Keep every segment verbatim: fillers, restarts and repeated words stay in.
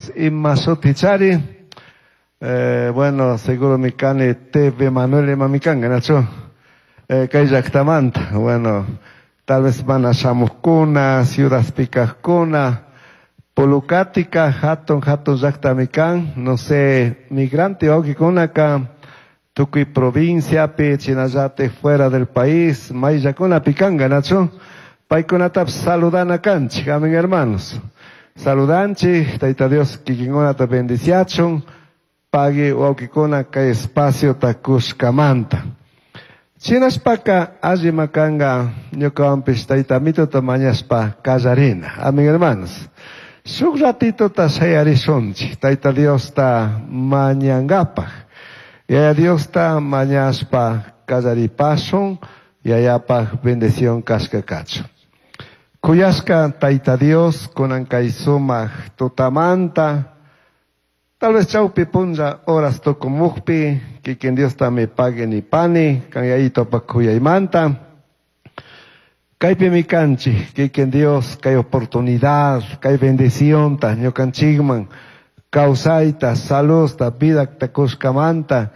Dios ima shutichari. Eh, bueno, seguro mi kani T V Manuel ima mi kanga, nachu? Eh, kay llaktamanta. Bueno, tal vez mana shamujkuna, ciudadpi kajkuna, Pulucatica, hatun hatun llaktami kan, no sé, migrante wawkikunaka, tukuy provinciapi, chinallatik fuera del país, mayllakunapi kanga, nachu? Paykunatapish saludana kanchik, amén, hermanos. Saludanchik, Tayta Dios kikinkunata bendiciachun, pagui wawkikuna kay espaciota kushkamanta. Shinashpaka allima kanga ñukawanpish Tayta Amitota mañashpa kallarina. Amén, hermanos. Shuk ratitota shayarishunchik Tayta Diosta mañangapaj. Yaya Diosta mañashpa kallaripashun, Yayapaj bendición kashka kachun. Kuyashka Tayta Dios, kunan kay sumak tutamanta, tal vez chawpi punlla horas tukumukpi, kikin Diosta mi pagui nipani, kan Yayitopak kuyaymanta. Kaypimi kanchik, kikin Dios, kay oportunidad, kay bendicionta, ñukanchikman, kawsayta, saludta, vidata kushkamanta,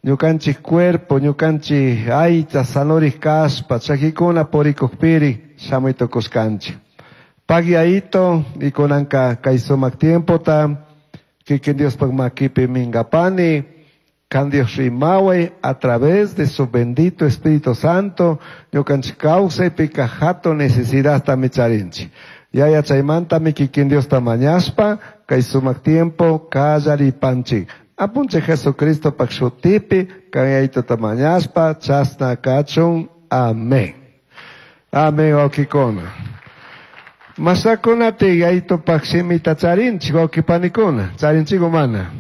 ñukanchik cuerpo, ñukanchik aycha, sanorik kashpa, chakikuna purikukpiri, shamuy tukushkanchik. Pagui Yayito, y kunanka kay sumak tiempota, kikin Diospaj makipi mingapani, kan Dios rimaway a través de su bendito Espíritu Santo, ñukanchik kawsaypika hatun necesidadta mi charinchik. Yaya chaymantami kikin Diosta mañashpa, kay sumak tiempo kallaripanchik. Apunchik Jesucristo pak shutipi, kan Yayitota mañashpa, chasna kachun. Amén. Amén, wawkikuna. Masakunati Yayitopak shimita charinchik, wawkipanikuna. Charinchik mana.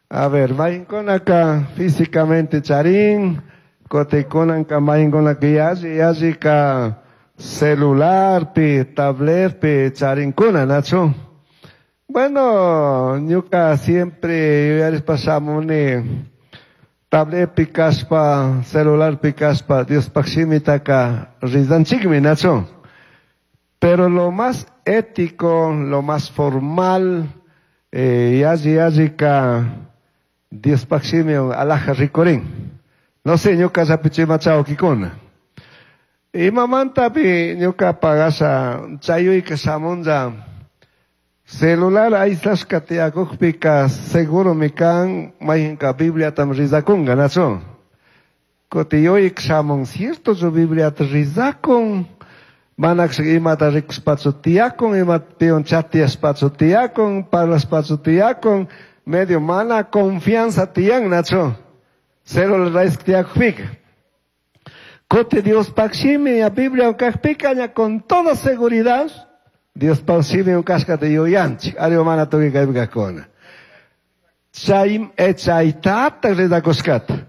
A ver, mayinkunaka físicamente charin, kotikunanka mayinkunaka yalli yallika celularpi, tabletpi charinkuna, nachu? Bueno, ñuka siempre yuyarishpa shamuni, tabletpi kashpa, celularpi kashpa, Diospaj shimitaka rizanchikmi, nachu? Pero lo más ético, lo más formal, eh, yalli yallika Diospaj shimi alaja rikurin. No sé, ñuka llapichima chawkikuna. Imamantapi ñuka pagasha chayuyka shamunlla celular aysashka tiyakukpika seguro mi kan mayjinka Bibliatam rizakunga, nachu? Kuti yuyik shamun, cierto chu Bibliata rizakun, manakshka imata rikushpachu tiyakun, imata piwan chatiyashpachu tiyakun, parlashpachu tiyakun, medio mana confianza tiyan, nachu? Celular ayshka tiyakukpika. Kuti Diospaj shimi ya Biblia kajpika ña con toda seguridad Diospaj shimi kashkata yuyanchik, ari mana tukuy kaypi kajkuna. Chay chaytataj rizakushkata.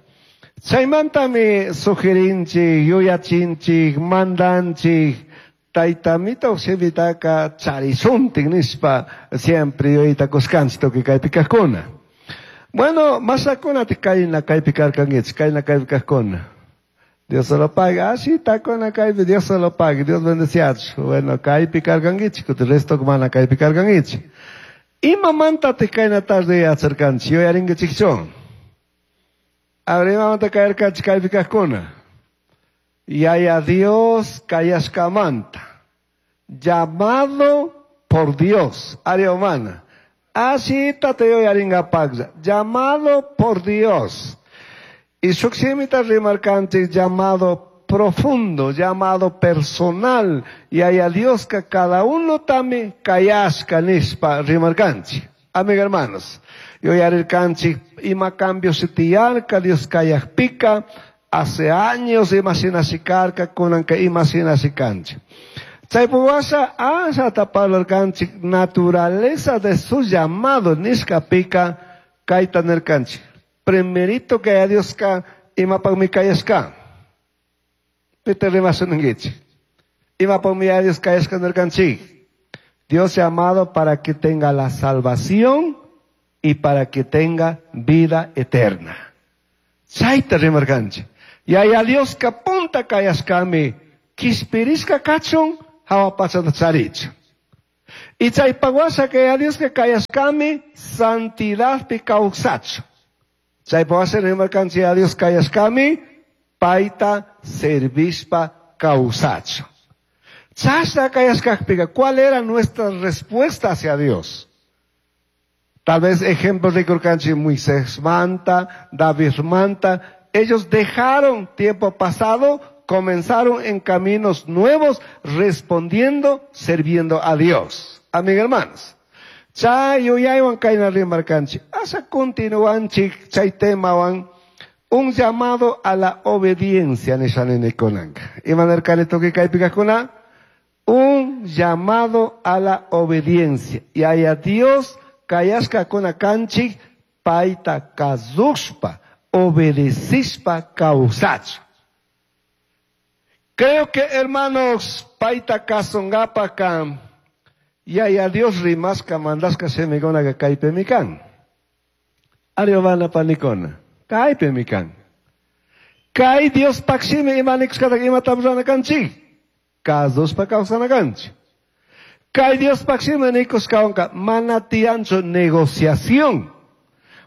Chaymantami sugirinchik, yuyachinchik, mandanchik, Tayta Amito shimitaka charishuntik nishpa siempre yuyaytakushkanchik tukuy kaypi kajkuna. Bueno, masakunati kayna kaypi karkankichik, kayna kaypi kajkuna. Dios se lo pague. Ah, sí, takuna kaypi, Dios se lo pague. Dios bendeciachu. Bueno, kaypi karkankichik, kuti resto mana kaypi karkankichik. Imamantatik kayna tarde yacharkanchik, yuyarinkichikchu? A ver, imamanta kayarkanchik kaypi kajkuna? Yaya Dios kayashkamanta. Llamado por Dios. Área humana. Así te yuyaringapaklla. Llamado por Dios. Y shuk shimita rimarkanchik llamado profundo, llamado personal. Yaya Dioska cada uno tami kayashka nishpa rimarkanchik. Amigo hermanos, yuyarirkanchik ima cambios tiyarka Dios kayakpika, hace años ima shinashikarka, kunanka ima shinashikanchik. Chaypuwasha ashata parlarkanchik naturaleza de su llamado nishkapika kayta nirkanchik. Primerito que a Dios ka imapagmi kayashka. Pita rimasunankichik. Imapagmi a Dios kayashka nirkanchik. Dios llamado para que tenga la salvación y para que tenga vida eterna. Chayta rimarkanchik. Yaya Dios ka punta kayashkami kishpirishka kachun hawa pachata charichun. Y chaypaq washa Yaya Dioska kayashkami santidadpi kawsachu. Chaypaq washa rimarkanchik Yaya Dios kayashkami payta servishpa kawsachu. Chashna kayashkakpika, ¿cuál era nuestra respuesta hacia Dios? Tal vez ejemplo rikurkanchik Moisés manta, David manta, ellos dejaron tiempo pasado, comenzaron en caminos nuevos, respondiendo, sirviendo a Dios. Amén, hermanos. Chay yuyaywan kayna rimarkanchik. Asha continuanchik chay temawan un llamado a la obediencia nisha ninikunanka. Imanirkani tukuy kaypi kajkuna? Un llamado a la obediencia. Yaya Dios kayashkakuna kanchik payta kasushpa, obedecishpa kawsachu. Creo que, hermanos, payta kasunkapaka Yaya Dios rimashka mandashka shimikunaka kaypimi kan. Ariobana panikuna, kaypimi kan. Kay Diospaj shimi ima nikushkataka imata rurana kanchik? Kasushpa kawsana kanchik. Kay Diospaj shimi nikushkawanka mana tiyanchu negociación.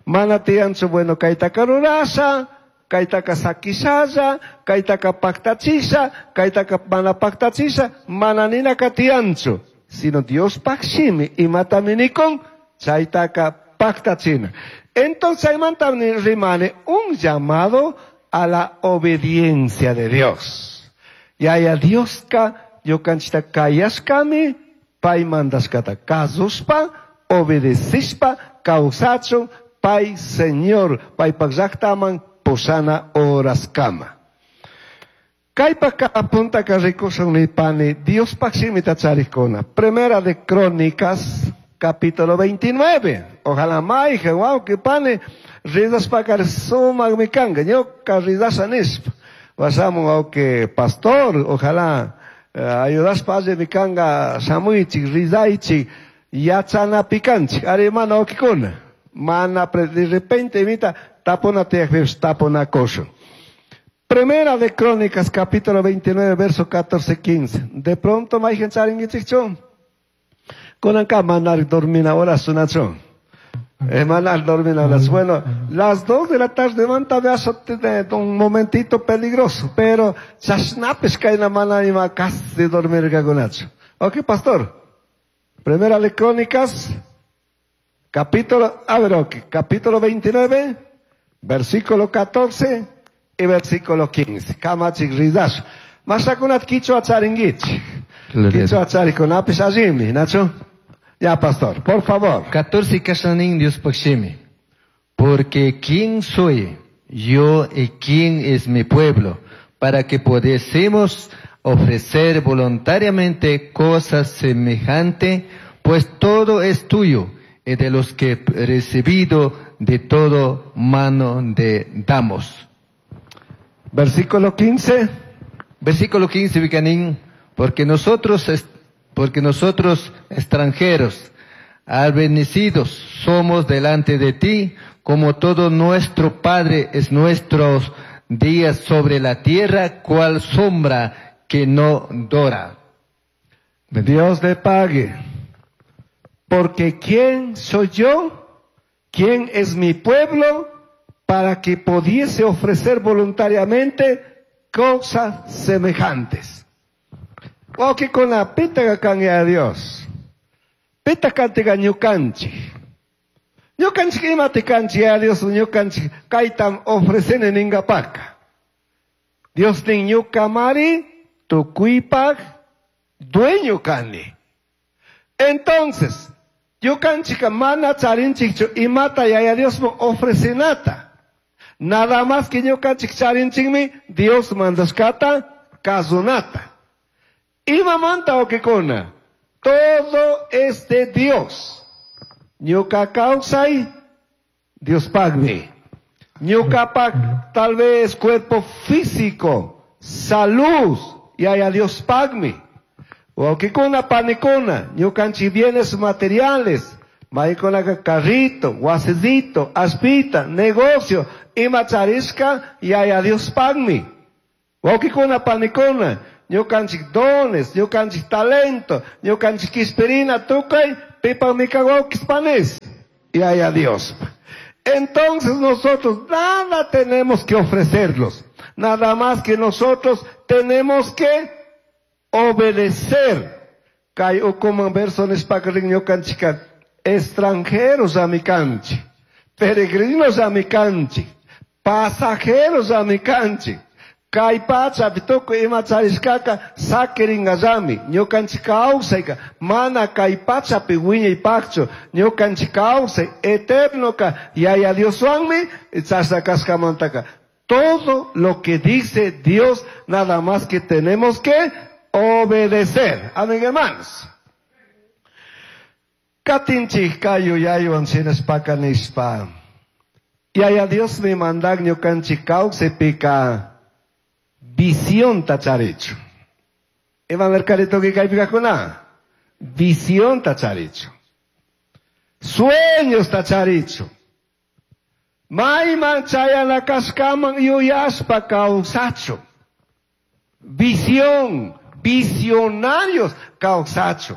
Mana tiyanchu, bueno, kaytaka rurasha, kaytaka sakishalla, kaytaka paktachisha, kaytaka mana paktachisha, mana ninaka tiyanchu. Sino Diospaj shimi imatami nikun, chaytaka paktachina. Entonces chaymanta rimani un llamado a la obediencia de Dios. Yaya Dioska ñukanchikta kayashkami, pay mandashkata kasushpa, obedecishpa, kawsachun, pay Señor, paypak llaktaman pushana horaskama. Kaypaka apuntaka rikushun nipani, Diospaj shimita charikuna. Primera de Crónicas, capítulo veintinueve. Ojalá mayqa, wawqi pani, ridashpaka sumakmi kanka, ñuka ridasha nishpa. Washamun wawqi pastor, ojalá eh, ayudashpa allimi kanka, shamuychik, ridaychik, yachanapi kanchik. Ari mana wawqikuna. Mana de repente imita tapuna tiyakpipish tapunakushun. Primera de Crónicas, capítulo veintinueve, verso catorce, quince. De pronto, mayqin charinkichikchu. Kunanka manar dormina horas sunachu. Eh, manar dormina horas. Bueno, las dos de la tarde manta veaso un momentito peligroso, pero chashnapis kayna mana ima casi dormir kakunachu. Ok, pastor. Primera de Crónicas, capítulo, a ver, ok, capítulo veintinueve, versículo catorce y versículo quince. Kamachik ridash. Mashakunat kichwa charingichik. Kichwa charikunapis allimi, Nacho. Ya, pastor, por favor. catorce kashanin Diospaj shimi. Porque ¿quién soy yo y quién es mi pueblo para que pudiésemos ofrecer voluntariamente cosas semejantes? Pues todo es tuyo y de los que he recibido de todo mano de damos. Versículo quince. Versículo quince, Vicanín, porque nosotros es, porque nosotros extranjeros, albendecidos somos delante de ti, como todo nuestro Padre es nuestros días sobre la tierra, cual sombra que no dora. Dios le pague. Porque ¿quién soy yo? ¿Quién es mi pueblo? Para que pudiese ofrecer voluntariamente cosas semejantes. Wawqikuna, pitaka kanki a Dios. Pita kantiga ñukanchik. Ñukanchik imati kanchik a Dios, ñukanchik kaytam ofrecene ningapaka. Dios nin ñukamari tukuypaj dueño kani. Entonces, ñukanchika mana charinchikchu imata Yaya Diosman ofrecenata. Nada más que ñukanchik charinchikmi Dios mandashkata kasunata. Imamanta wawqikuna, todo es de Dios. Ñuka kawsay, Diospagmi. Ñukapak tal vez cuerpo físico, salud, Yaya Diospagmi. Wawqikuna, panikuna, ñukanchik bienes materiales, maykunaka carrito, wasicito, aspita, negocio, ima charishka, Yaya Diospagmi. Wawqikuna, panikuna, Ñukanchik dones, ñukanchik talento, ñukanchik quishpirina tukuy, pipajmi kan wawkis panis. Yaya Dios. Entonces nosotros nada tenemos que ofrecerlos. Nada más que nosotros tenemos que obedecer. Kay ukuman verso nishpaka rin ñukanchika extranjeros amikanchik, peregrinos amikanchik, pasajeros amikanchik. Kay pachapi tukuy ima charishkaka sakiringallami. Ñukanchik kawsayka mana kay pachapi wiñaypaqchu. Ñukanchik kawsay eternoka Yaya Dioswanmi chashna kashkamantaka. Todo lo que dice Dios, nada más que tenemos que obedecer. Amén, hermanos. Katinchik kay yuyaywan shinashpaka nishpa. Yaya Dios mi mandak ñukanchik kawsaypika visión tacharichu. Ima mercadito que kaypikakuna. Visión tacharichu. Sueños tacharichu. Mayman chayana kashkaman yuyashpa kawsachu. Visión, visionarios kawsachu.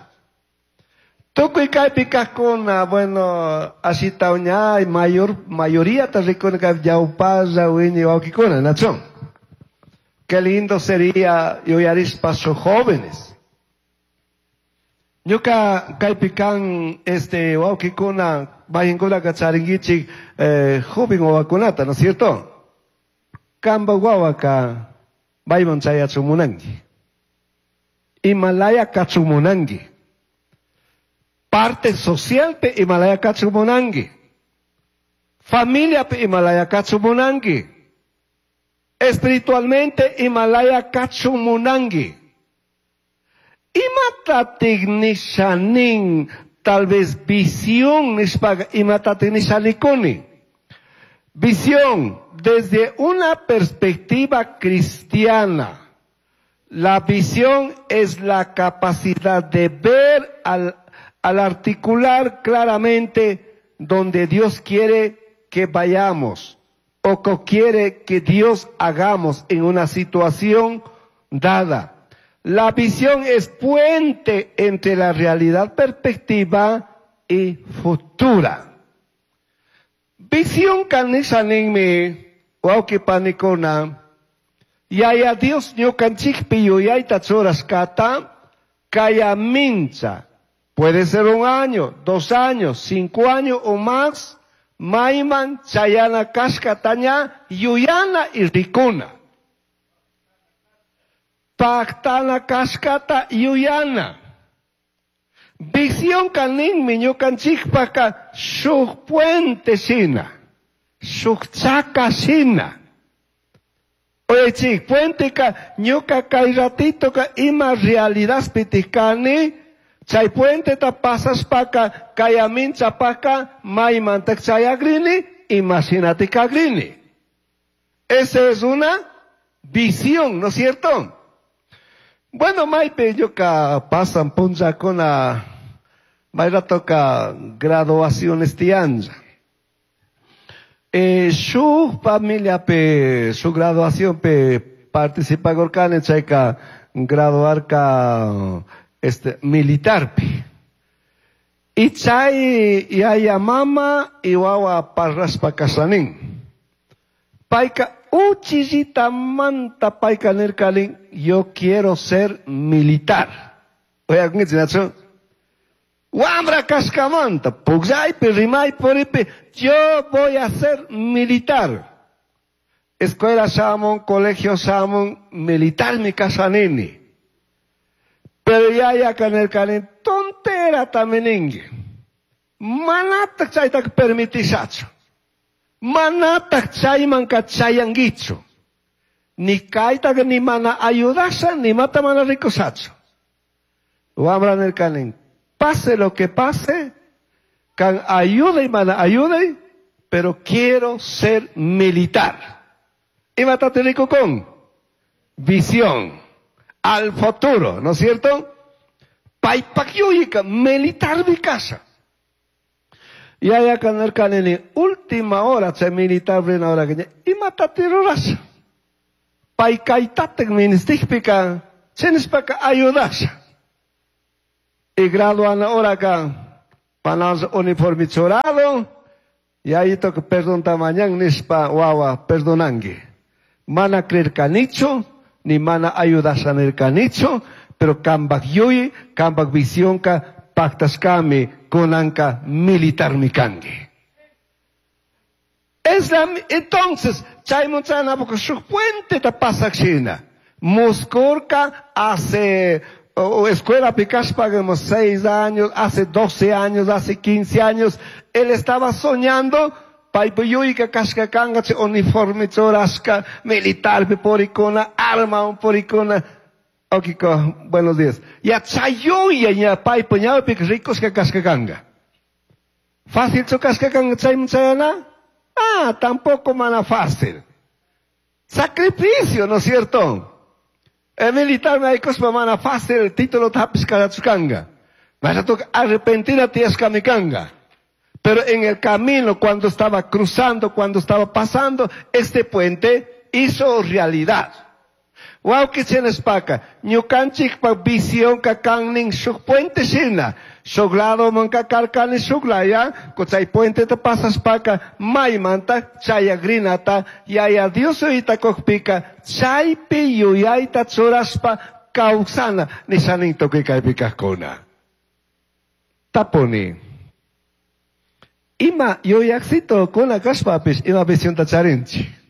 Tukuy kaypi kajkuna, bueno, ashita uñay, mayor, mayoría ta rikuna kay ñawpalla wiñay wawkikuna, nachón. Qué lindo sería yuyarishpa sus jóvenes. Ñuka kaypi kan, este, wawkikuna, mayinkunaka charinkichik, eh, joven wawakunata, ¿no es cierto? Kamba wawaka, mayman chayachun munanki. Himalaya kachun munanki. Parte social pe Himalaya kachun munanki. Familia pe Himalaya kachun munanki. Espiritualmente Himalaya kachun munanki. Imatatik nishanin, tal vez visión nishpaga, imatatik nishanikuni. Visión desde una perspectiva cristiana. La visión es la capacidad de ver al, al articular claramente donde Dios quiere que vayamos o que quiere que Dios hagamos en una situación dada. La visión es puente entre la realidad perspectiva y futura. Visión kanishaninmi, wawqi panikuna, Yaya Dios ñukanchikpi yuyayta churashkata, kaya mincha. Puede ser un año, dos años, cinco años o más, mayman chayana kashkataña, yuyana y rikuna. Pactana kashkata yuyana. Visión kaninmi ñukanchikpaka shuk puente shina, shuk chaka shina. Oye, chik, puente ka ñuka kay ratito ka ima realidad pitikani, chay puente ta pasashpaka kayamin chapaka maymantak chayagrini, imagínate kagrini. Esa es una visión, ¿no es cierto? Bueno, maypi ñuka pasan punllakuna, mayra toca graduaciones tianja. Eh, su familia pe, su graduación pe participa gorkane chayka graduarka este militar pe. Y chay yaya mama y wawa parraspa kasanin. Payka uchillita manta payka nirkalin, yo quiero ser militar. Oye, ¿qué Wambra kashkamanta, pugllaypi, rimay, puripi, yo voy a ser militar. Escuela shamun, colegio shamun, militar mi kasanini. Pero ya ya kanirkalin, tontera taminingi. Manataq chaytaq permitishachu. Manataq chaymanka chayankichu. Ni kaytaq ni mana ayudasha, ni mata mana rikushachu. Wambra nirkalin, pase lo que pase, kan ayude y mana ayude, pero quiero ser militar. Imata rico con visión al futuro, ¿no es cierto? Paypakyuyika, militar mi casa. Y allá kanirkanini, última hora, che militar brina hora que imata tirurasha. Paykaytatek ministikpika, Chinishpaka ayudasha. Y graduana oraka panas uniforme churado y ahí toca perdón tamañan nishpa wawa perdonangi. Mana creer canicho, ni mana ayudasha nircanicho, pero kambak yuyi, kambak visionka paktaskami kunanka militar mikangi. Es la, entonces, chaymunchana porque su puente ta pasakshina. Muskurka hace o, escuela picashpa seis años, hace doce años, hace quince años, él estaba soñando paypuyuyka kashka kanga chay uniforme churashka militar porikuna arma porikuna. Okiko, buenos días. Ya chayuya ña paypa ñawpika rikushka kashka kanga. Fácil chu kashka kanga chayman chayana? Ah, tampoco mana fácil. Sacrificio, ¿no es cierto? El militar me ha mana fácil el título tapis kanga. Vas a arrepentir a ti kanga. Pero en el camino, cuando estaba cruzando, cuando estaba pasando este puente, hizo realidad. Wawki chinashpaka, ñukanchikpa visionka kannin shuk puente shina. Shuk lado manka karkani shuk laya, chay puente ta pasashpaka, maymanta chayagrinata, yaya Dios yuyayta chaypi yuyayta churashpa kawsana, nishanin tukuy kaypi kajkuna. Tapuni. Ima yuyaksito kuna kashpapish ima visionta charinchik.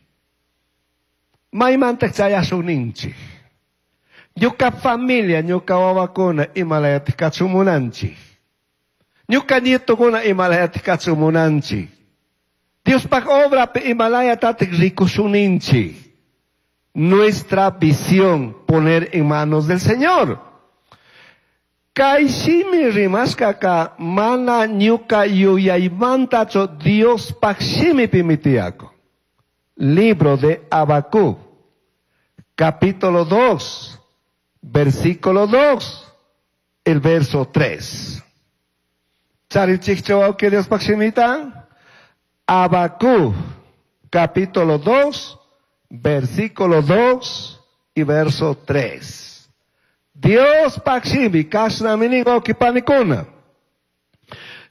Maymanta chayashun. Ñuka familia, ñuka wawakuna imalayati kachumunanchik. Ñuka nietokuna imalayati kachumunanchik. Diospaj obrapi imalayatatik rikushuninchik. Nuestra visión poner en manos del Señor. Kay shimi rimashkaka mana ñuka yuyaymantachu Diospaj shimipimi tiyakun. Libro de Habacuc, capítulo dos, versículo dos, el verso tres. Charinchikchu que Diospaj shimita? Habacuc, capítulo dos, versículo dos y verso tres. Diospaj shimi, kashnami nin panikuna.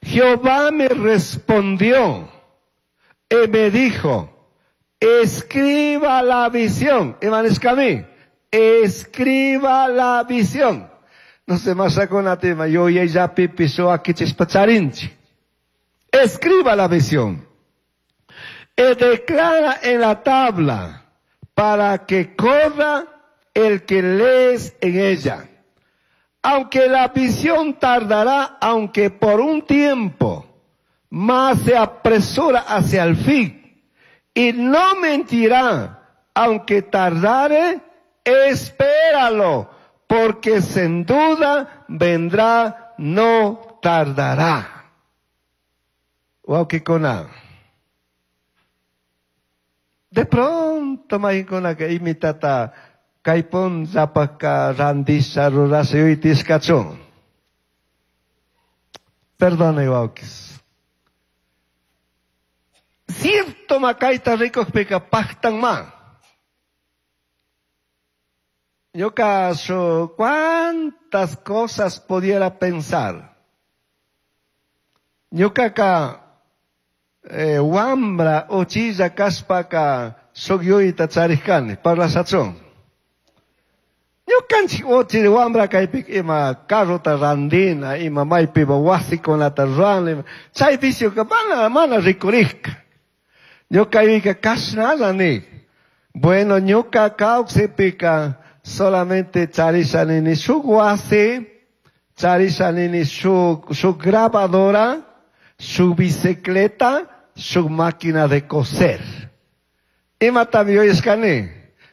Jehová me respondió y me dijo, escriba la visión. Imanishkami, escriba la visión. No se más tema, yo ya pipiso aquí chispacharinchi. Escriba la visión. Y declara en la tabla para que corra el que lees en ella. Aunque la visión tardará, aunque por un tiempo, más se apresura hacia el fin. Y no mentirá, aunque tardare, espéralo, porque sin duda vendrá, no tardará. Wawkikuna. De pronto mayqinkunaka imitata kay punllapaka randisha rurasha yuytishkachun. Perdone, wawkis. Cierto makayta rikukpika paktanman. Ñuka shu cuántas cosas pudiera pensar. Ñukaka eh, wambra uchilla kashpaka shuk yuyayta charishkani parlashachun. Ñukanchik uchilla wambra kaypika ima carrota randina, ima maypipa wasikunata rurana, chay vicioka mana, mana rikurishka. Ñuka yuyayka kashnalla nik. Bueno, ñuka kawsaypika solamente charisha nini shuk wasi, charisha nini shuk, shuk grabadora, su bicicleta, su máquina de coser. Imatami yuyashkani,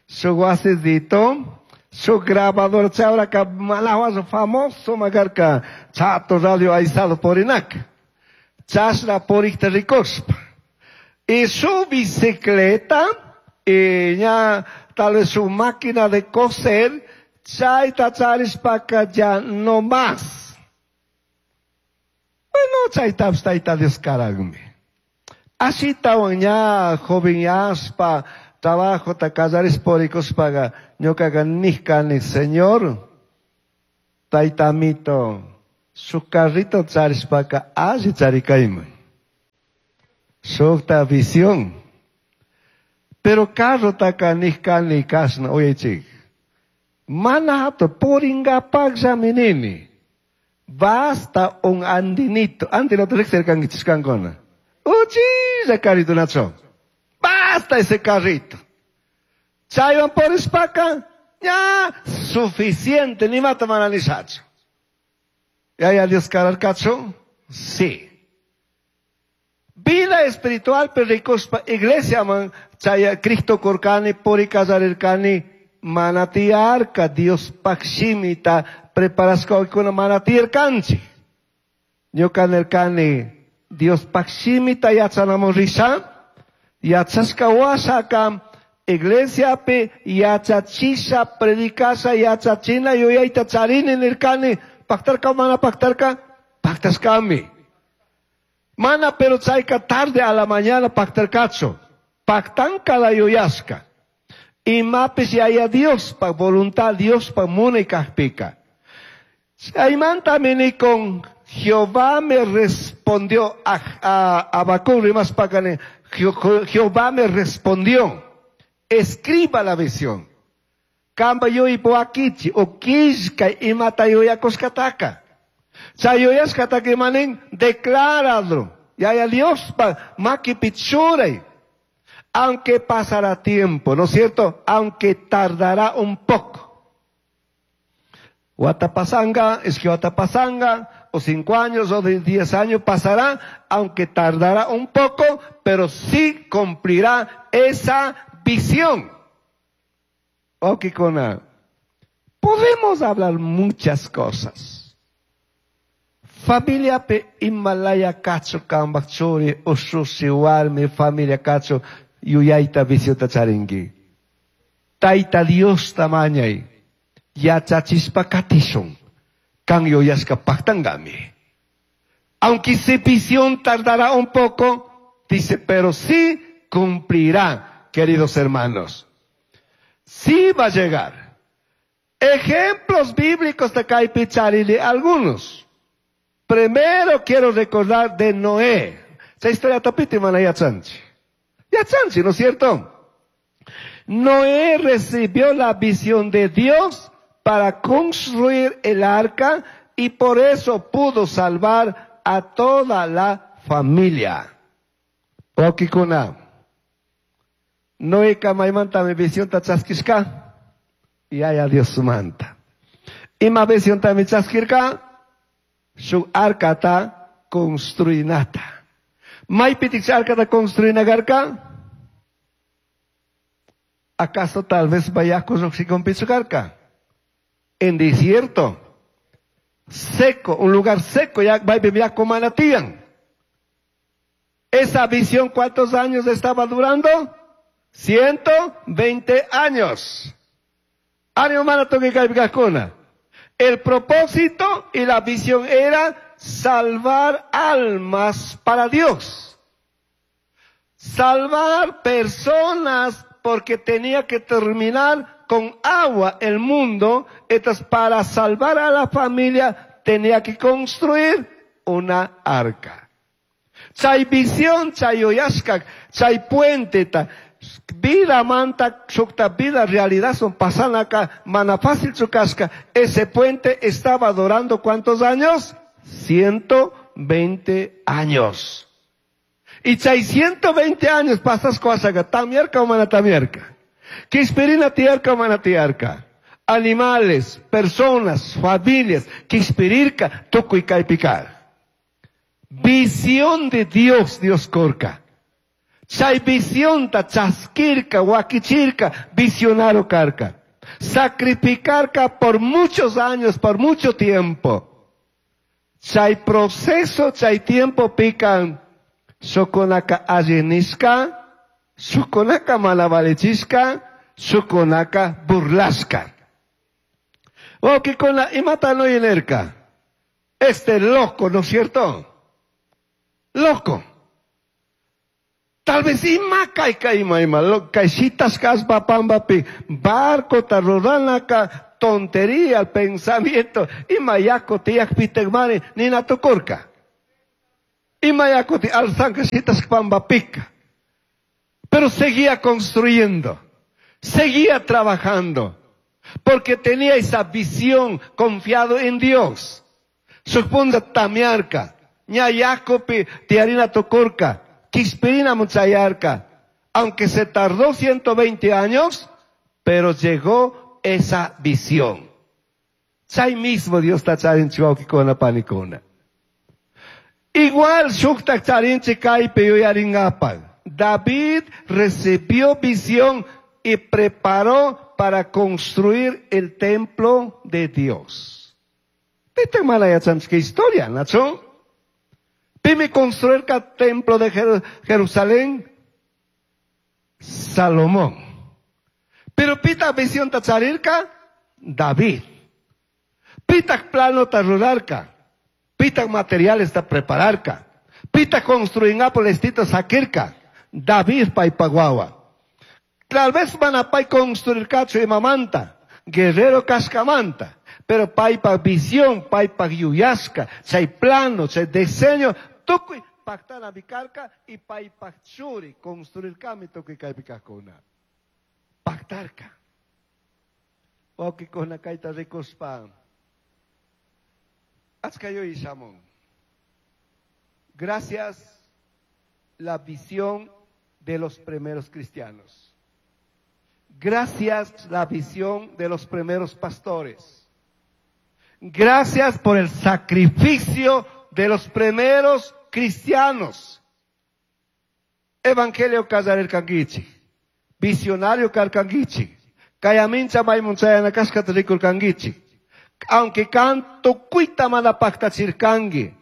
shuk wasizito, su grabador, chawraka malawas famoso makarka, chato radio aizado porinak. Chashna porikta rikushpa. Y su bicicleta, y ya tal vez su máquina de coser, chayta charishpaka ya no más. Bueno, chaytapish tayta Dios karagmi. Ashitawan ña jovenyashpa, Trabajota kallarishpa purikushpaga ñukaga nijkani, Señor, taytamito, shuk carrito charishpaka alli charikayman. Shukta visión. Pero carrotaka nijkani kashna, uyaychik. Mana hatun puringapakllami nini. Basta un andinito. Andinito riqsirkankichik kankuna. Uchilla carrito nacho. Basta ese carrito. Chaywan purishpaka, ya suficiente, nimata mana nishachu. Yaya Dios kararkachu? Sí. Vida espiritual rikushpa iglesia man chaya Cristo kurkani puri kallarirkani mana tiyarka Dios shimita preparashkakuna mana tiyarkanchik. Ñuka nirkani Dios shimita yachanamun risha yachashka washaka iglesiapi yachachisha predicasha yachachina yuyayta charini nirkani paktarka mana paktarka paktashkami. Mana pero chayka tarde a la mañana paktarkachu. Paktanka la yuyashka. Imapish yaya Dios pa voluntad Dios pa munay kajpika. Chaymantami nikun Jehová me respondió a, a Habacuc rimashpakani Jehová me respondió. Escriba la visión. Kamba yuyaypi wakichi o killkay imata yuyakushkataka. Chay yuyashkataka imanin decláralo. Yaya Dios pa makipi churay. Aunque pasará tiempo, ¿no es cierto? Aunque tardará un poco. Watapasanga, es que watapasanga, o cinco años o de diez años pasará, aunque tardará un poco, pero sí cumplirá esa visión. Okikuna, podemos hablar muchas cosas. Familia pe imalaya kachu kambak churi, ushushi warmi, familia kachu, yuyayta visiota charinki. Tayta Dios tamañay, yachachispa katishun, kan yuyashka paktangami. Aunque esa visión tardará un poco, dice, pero sí cumplirá, queridos hermanos. Sí va a llegar. Ejemplos bíblicos de kaypi charini, algunos. Primero quiero recordar de Noé. Esa historia topiti mana yachanchi. Yachanchi, ¿no es cierto? Noé recibió la visión de Dios para construir el arca y por eso pudo salvar a toda la familia. Okikuna. Noé maymantami visionta chaskishka. Yaya Dios manta. Ima visiontami chaskirka. Shuk arcata construinata. Maypitik arcata construina karka? ¿Acaso tal vez yaku lluqshikunpichu karka? En desierto. Seco, un lugar seco, ya maypi yaku mana tiyan. Esa visión, ¿cuántos años estaba durando? Ciento veinte años. Ánimo mana tukuy kaypi kajkuna. El propósito y la visión era salvar almas para Dios. Salvar personas porque tenía que terminar con agua el mundo. Entonces, para salvar a la familia tenía que construir una arca. Chay visión, chay yuyashka, chay puente, ta. Vida manta, shukta vida realidad son pasanaka, mana fácil chukashka. Ese puente estaba durando ¿cuántos años? Ciento veinte años. Y chay ciento veinte años pasas kuasaka, tamierka o mana tamierka. Kishpirina tiyarka o mana tiyarka. Animales, personas, familias, kishpirirka, tukuy kaypikar. Visión de Dios, Dios kurka. Chay visionta chaskirka, wakichirka, visionario karka. Sacrificarka por muchos años, por mucho tiempo. Chay proceso, chay tiempo pican. Shukunaka allinishka, shukunaka malavalechishka, shukunaka burlashka. Wakikuna imata no inerka. Este loco, ¿no es cierto? Loco. Tal Tal vez ima kay kay ima ima kay shitashka allpa pambapi barcota ruranaka tontería el pensamiento ima yaku tiyakpitakmari nina tukurka. Ima yaku ti alzanka shitashka pambapika. Pero seguía construyendo, seguía trabajando, porque tenía esa visión confiado en Dios. Suponda tamiarka, ña yakupi tiyarina tukurka, quishpirina muchayarka. Aunque se tardó ciento veinte años, pero llegó esa visión. Chay mismo Dios ta charinchi wawkikuna panikuna. Igual shuktak charinchi kaypi yuyaringapak. David recibió visión y preparó para construir el templo de Dios. Pita mana yachanchik historia, ¿nacho? Pimi construir el templo de Jer-, Jerusalén, Salomón. Pero pita visión tacharirka, David. Pita plano tarurarka, pita materiales ta prepararka, pita construir apolestito sakirka, David paipaguawa. Tal vez van a pai construir cacho y mamanta, guerrero cascamanta, pero paipa visión, paipa yuyasca, chay plano, chay diseño, tukuy pactana bicarca y paipa churi construir kami tukuy kaipikakuna. Pactarca. Wawkikuna kayta rikuspa. Achka yuyashamun. Gracias la visión de los primeros cristianos. Gracias la visión de los primeros pastores. Gracias por el sacrificio de los primeros cristianos. Evangelio kallarirkankichik, visionario karkankichik, kayamincha maymunchayana kashkata rikurkankichik. Aunque canto kuita mana paktachirkanki,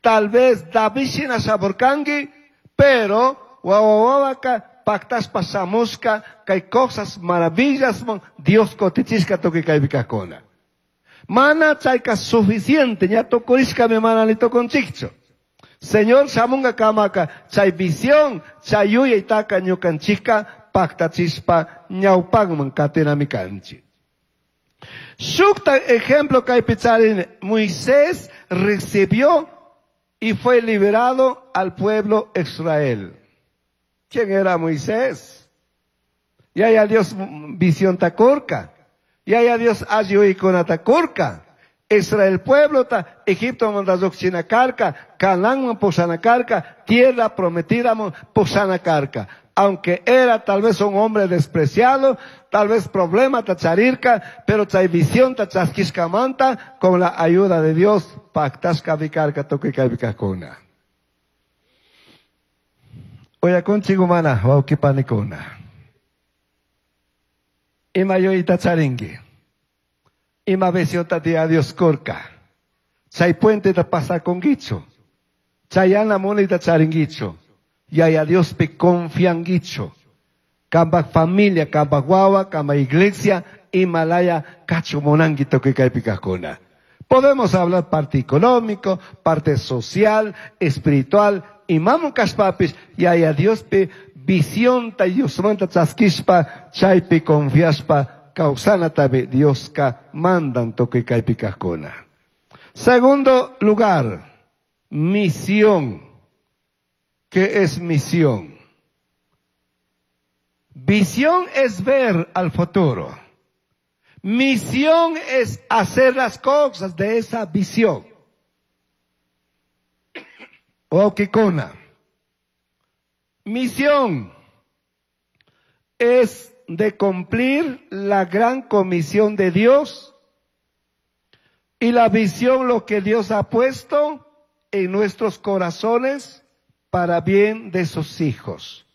tal vez David shina shaburkanki, pero wawawawaka paktaspa shamushka, kay cosas maravillas mon Dios kotichishka tukuy kaypikakuna. Mana chayka suficiente, ña tukurishka mi mana ni tukunchikchu. Señor shamunga kamaka, chay visión, chay yuyaytaka ñukanchikka paktachispa ñawpakman katinami kanchik. Shukta ejemplo kaypi charin, Moisés recibió y fue liberado al pueblo Israel. ¿Quién era Moisés? Ya ya Dios visión takurka. Ya ya Dios ayuikuna takurka. Israel pueblo ta Egipto mandazokchina karka, Canaán pusana karka, tierra prometida pusana karka. Aunque era tal vez un hombre despreciado, tal vez problema tacharirka, pero chay visión tachaskishkamanta, con la ayuda de Dios, pactasca vikarka tukuy kaypikakuna. Oyakunchik humana, wawqipanikuna. Ima yuyayta charinki. Ima visión ta Dios kurka. Chay puente ta pasakunkichu. Chayana munayta charinkichu. Yaya Dios pi confianguicho. Kamba familia, kamba guagua, kamba iglesia, Himalaya, cacho monanguito que kaypikakuna. Podemos hablar parte económico, parte social, espiritual, imamu kashpapis, yaya Dios pi visión ta Diosmanta chaskishpa, chaypi confiaspa, causana tabi Dios ka mandan tukuy kaypikakuna. Segundo lugar, misión. ¿Qué es misión? Visión es ver al futuro. Misión es hacer las cosas de esa visión. Wawqikuna. Misión es de cumplir la gran comisión de Dios y la visión lo que Dios ha puesto en nuestros corazones para bien de sus hijos.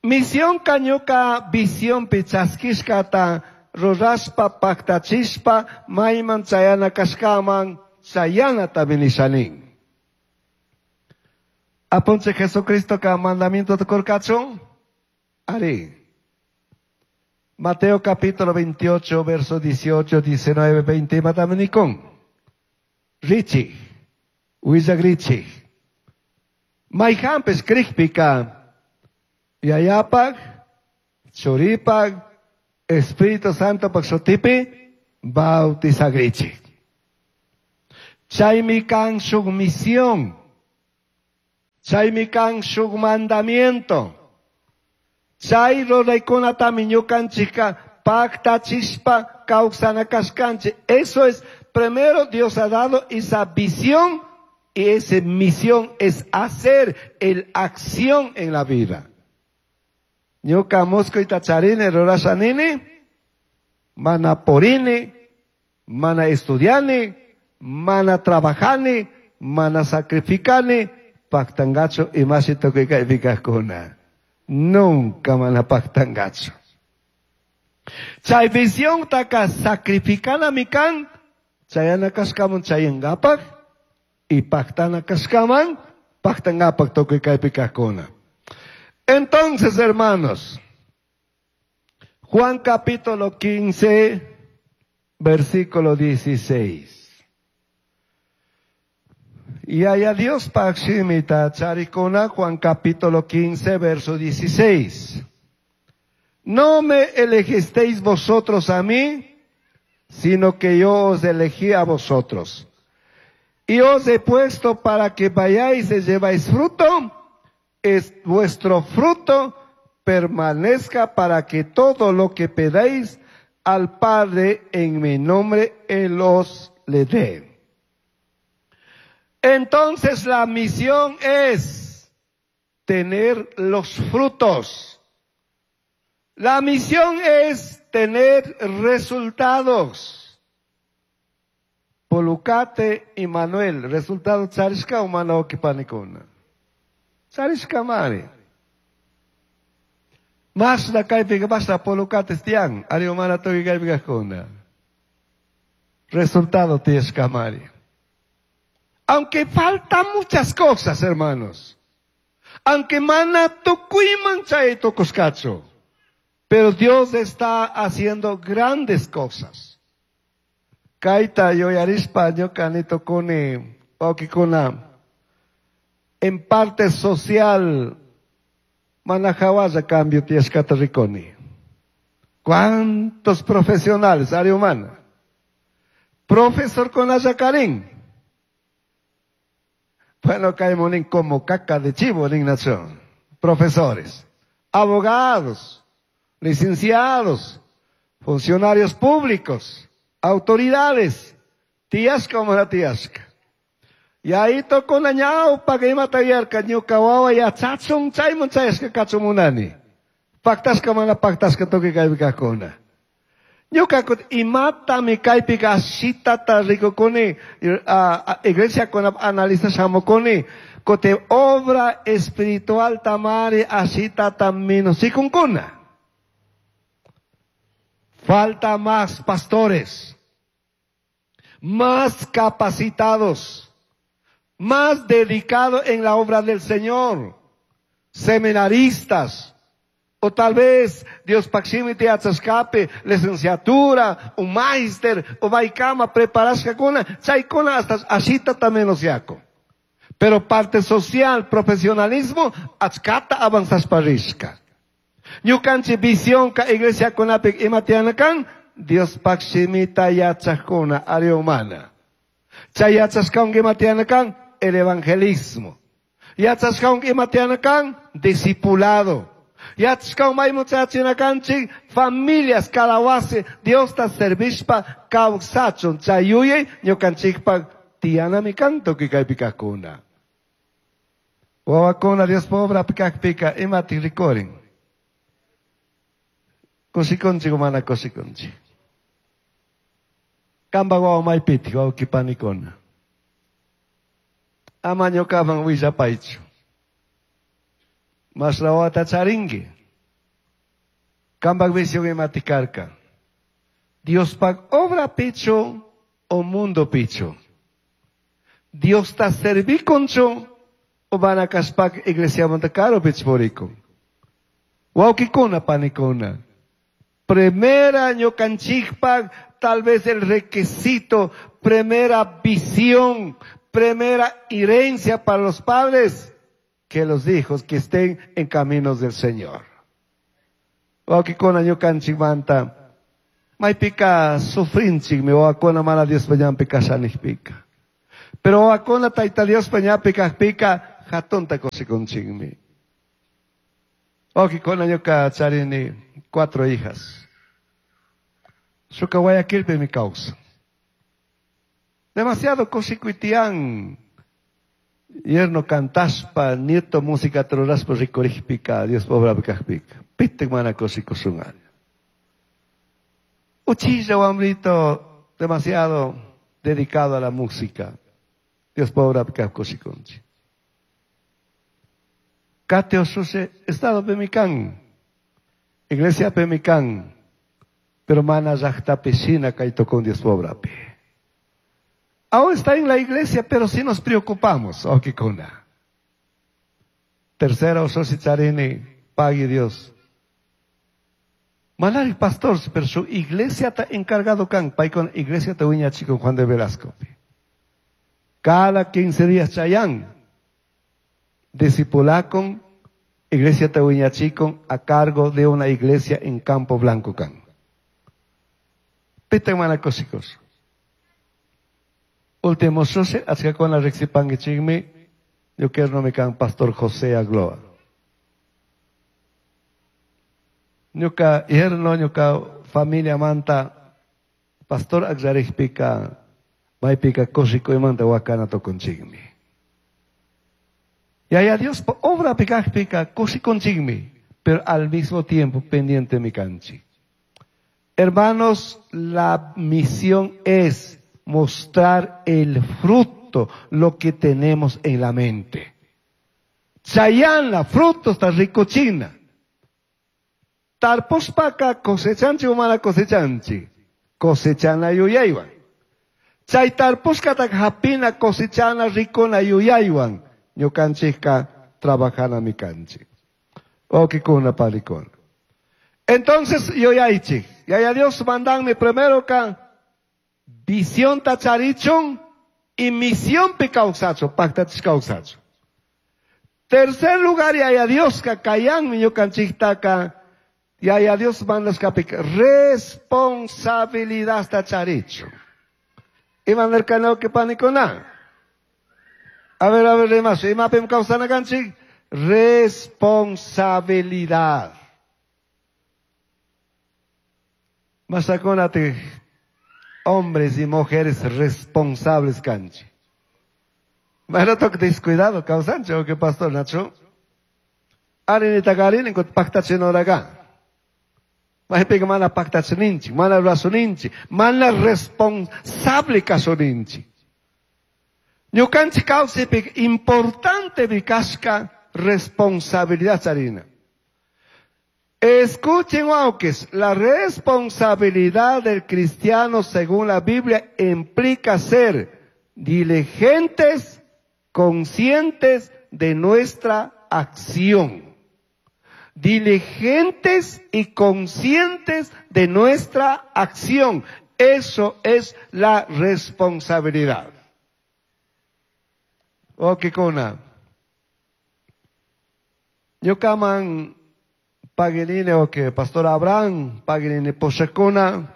Misión kañuka visión pichaskishkata rurashpa paktachishpa mayman chayana kashkaman chayanata binishanin. Apunche Jesucristo ka mandamiento de kurkachun. Ari. Mateo capítulo veintiocho, verso dieciocho, diecinueve, veinte, mataminikon. Richi. Huillagrichi. Maijanpish crijpica Yayapaj, Churipaj, Espíritu Santo shutipi bautizagrichij. Chaymi kan shuk misión. Chaymi kan shuk mandamiento. Chay ruraykunatami ñukanchikka paktachishpa kawsana kashkanchik. Eso es, primero Dios ha dado esa visión y esa misión es hacer el acción en la vida. Ñuka muskuyta charini rurasha nini, mana purini, mana estudiani, mana trabajani, mana sacrificani, paktangachu imashi tukuy kaypi kajkuna. Nunca mana paktangachu. Chay visión taka sacrificana kan, chayana kashkaman chayangapak, y paktana kashkaman, paktangapak tukuy kaypi kajkuna. Entonces, hermanos, Juan capítulo quince, versículo dieciséis. Y haya Dios pakshimita charikuna, Juan capítulo quince, verso dieciséis. No me elegisteis vosotros a mí, sino que yo os elegí a vosotros. Y os he puesto para que vayáis y lleváis fruto, es vuestro fruto permanezca para que todo lo que pedáis al Padre en mi nombre, Él os le dé. Entonces la misión es tener los frutos. La misión es tener resultados. Polucate y Manuel, resultado charishka o mana wawkipanikuna. Charishka mari. Mashna kaypika mashna polucates tiyan, ari mana tukuy kaypi kajkuna. Resultado tiyashka mari. Aunque faltan muchas cosas, hermanos. Aunque mana tukuyman chay tukushkachu. Pero Dios está haciendo grandes cosas. Kayta yuyarishpa ñuka nitukuni wawkikuna. En parte social, mana hawalla cambio tiyashkata rikuni. ¿Cuántos profesionales, área humana? Profesor con Karin. Bueno, caemos como caca de chivo en nación. Profesores, abogados, licenciados, funcionarios públicos, autoridades, tiyashka o mana tiyashka. Y ahí tocó la ñaupa que imata yarka ñuka wawa yachachun chayman chayashka kachun munani. Paktashka mana paktashka tukuy kaypi kajkuna. Ñuka kut imatami kaypika ashitata rikukuni, iglesia kuna analiza shamukuni, kote obra espiritual tamari ashitata minusikunkuna. Falta más pastores, más capacitados, más dedicados en la obra del Señor, seminaristas, o tal vez Dios paximiti atzascape, licenciatura, un máster, o baikama, preparashka kuna, chaykuna hasta ashita también osiako. Pero parte social, profesionalismo, achkata avanzasparishka. Ñukanchi visión ka iglesia kunapik imatianakan, Dios paximita yachakuna, área humana. Chay yachashkawan imatianakan, el evangelismo. Yachashkawan imatianakan, discipulado. Yachashkawan maymuchachinakanchik, familias cada wasi, Dios ta servishpa kawsachun. Chay yuyay ñukanchikpa tiyanami kan tukuy kaypi kajkuna. Wawakuna Dios pobra pikakpika imati rikurin. Kushikunchik o mana kushikunchik. Kamba wawa maypiti wawkipanikuna. Ama ñukaman willapaychu. Mashna wawata charinki. Kambak visión imati karka. Diospak obra pichu o mundo pichu. Dios ta servikunchu o mana kashpak iglesia karupi purikun. Wawkikuna panikuna. Primera ñukanchikpak, tal vez el requisito, primera visión, primera herencia para los padres. que los hijos que estén en caminos del Señor. Wawqikuna ñukanchikmanta maypika sufrinchikmi wawakuna mana Diospa ñanpi kashanijpika. Pero wawakuna Tayta Diospa ñanpi kajpika hatunta kushikunchikmi. Wawqikuna ñuka charini cuatro hijas. Shuka Guayaquilpimi kawsan. Demasiado kushikuy tiyan. Yerno cantashpa, nieto música rurashpa rikurijpika, Diospa obrapi kajpika. Pitik mana kushikushun. Uchilla wambrito, demasiado dedicado a la música. Diospa obrapi kaj kushikunchik. Kate oshushe, estado pemikan, iglesia pemikan, pero mana llaqtapi shina kay tukun Diospa obrapi. Aún está en la iglesia, pero sí nos preocupamos. Wawqikuna. Tercera ushushi charini, pague Dios. Manari pastor, pero su iglesia está encargado kan, paykuna iglesia ta wiñachikun Juan de Velasco. Cada quince días chayan, discipulakun, iglesia ta wiñachikun a cargo de una iglesia en Campo Blanco kan. Pita mana kushikos. Último sose, achkakuna riqsipankichikmi, ñuka kan pastor José Agloa. Ñuka yerno, ñuka familia manta, pastor akllarikpika, maypika kushikuymanta wakana tukunchikmi. Yaya Dios obra kajpika kushikunchikmi, pero al mismo tiempo pendiente mi kanchik. Hermanos, la misión es mostrar el fruto, lo que tenemos en la mente. Chayanla, fruto está ricochina. Tarpushpaka cosechanchi o mana cosechanchi. Cosechana yuyaywan. Chay tarpushkata hapina cosechana ricona yuyaywan. Ñukanchikka trabajana mikanchik. Wawqikuna panikuna. Entonces, yuyaychik. Yaya Dios mandanmi primero ka visión ta charichun y misión pi kawsachun, paktachish kawsachun. Tercer lugar, Yaya Dios ka kayanmi ñukanchiktaka. Yaya Dios mandashkapi responsabilidad ta charichun. Ima nirkani wawqi panikuna. A ver, a ver, rimash, imapim kawsana kanchik? Responsabilidad. Mashakunati, hombres y mujeres responsables kanchik. Mana toque descuidado kawsanchik, o que pastor Nacho. Arinita karini kut paktachinoraga. Maypika mana paktachininchik, mana rurasuninchik, mana responsable kasuninchik. Ñukanchik kawsaypika importante kashka responsabilidad charina. Escuchen, wawkis, la responsabilidad del cristiano según la Biblia implica ser diligentes, conscientes de nuestra acción. Diligentes y conscientes de nuestra acción. Eso es la responsabilidad. Wawqikuna. Ñukaman paguinine o que Pastor Abraham paguinine pushakuna